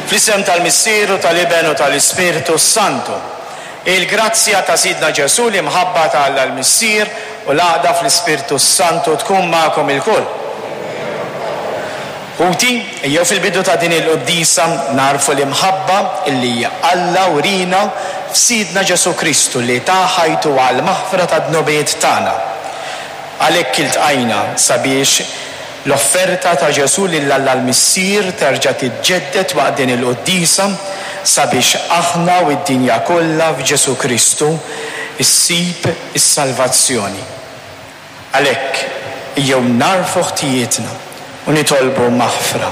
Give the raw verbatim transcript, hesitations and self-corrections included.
Fl-isem tal-Missier u tal-Iben u tal-Ispirtu Santu. Il-grazzja ta' Sidna Ġesù, l-imħabba ta' Alla l-Missier u l-għaqda fl-Ispirtu Santu tkun magħkom ilkoll. Ħuti, ejjew fil-bidu ta' din il-quddiesa nagħrfu l-imħabba illi Alla wriena f'Sidna Ġesù Kristu li ta ħajtu għall-maħfra tad-dnubiet tagħna. Għalhekk iltqajna sabiex l-offerta ta' Ġesù lil Alla l-Missier terġa' tiġġedded waqt din il-quddiesa sabiex aħna u d-dinja kollha f'Ġesù Kristu issib is-salvazzjoni. Għalhekk ejjew nagħrfu ħtijietna u nitolbu maħfra.